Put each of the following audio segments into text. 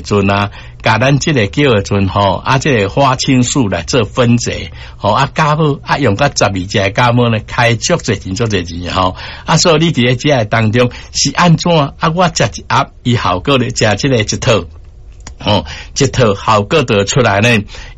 的陣啊，共咱這个叫的陣吼，啊，這个花青素來做分解，吼啊，加好啊，用甲十二隻酵母呢，開足濟錢足濟錢吼，啊，所以你佇咧這个當中是按怎啊？我食一盒，伊效果咧，食這个一套。吼，這套效果就出來呢，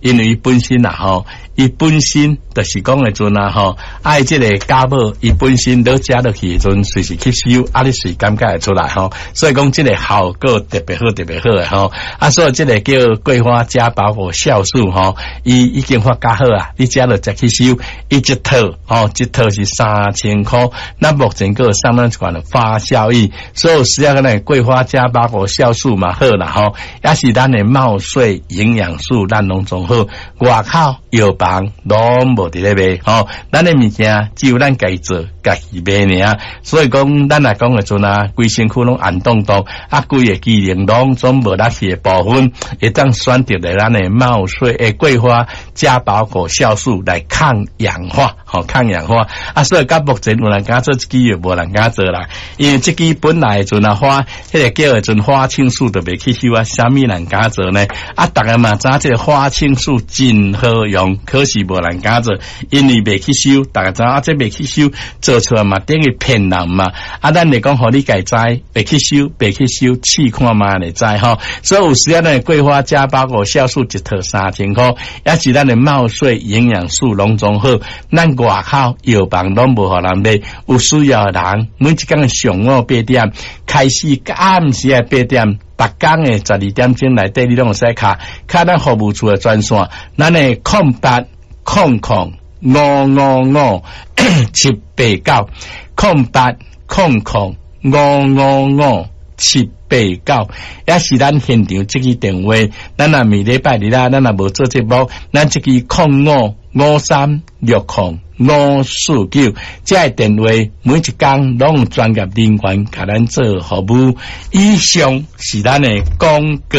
因為伊本身啊吼，伊本身就是講的陣啊吼，愛這个酵母，伊本身都食落去的陣，隨時吸收，啊，你隨感覺會出來吼，所以講這个效果特別好，特別好的吼，啊，所以這个叫桂花加保護酵素吼，伊已經發較好啊，你食落食吸收，伊一套吼，一套是3000箍，那目前閣送咱一款的發酵液，所以需要個呢桂花加保護酵素嘛好啦吼，也是咱的茂穗營養素，咱攏總好，外口藥房攏無佇咧賣吼，咱的物件只有咱家己做，家己賣爾。所以講，咱若講的陣啊，規身軀攏紅當當，啊，規个機能攏總無力氣的部分，會當選擇咧咱的茂穗的桂花加保果酵素來抗氧化，吼，抗氧化。啊，所以到目前有人敢做這支藥，無人敢做啦，因為這支本來的陣啊花，彼个叫的陣花青素都袂吸收啊，啥物人敢做呢？啊，逐家嘛知這个花青素真好用，可是無人敢做，因為袂吸收，逐家知啊，這袂吸收做出來嘛等於騙人嘛。啊，咱來講，予你家知，袂吸收，袂吸收，試看覓會知吼。所以有時啊，咱的桂花加包括酵素一套3000箍，也是咱的茂穗營養素攏總好。咱外口藥房攏無予人賣，有需要的人每一工的上午八點開始，到暗時的八點。逐工的12點鐘內底，你攏會使敲敲咱服務處的專線，咱的08000555 789，08000555 789，也是咱現場這支電話。咱若每禮拜日啦，咱若無做節目，咱這支0553600549，這个電話每一工攏有專業人員共咱做服務。以上是咱的廣告。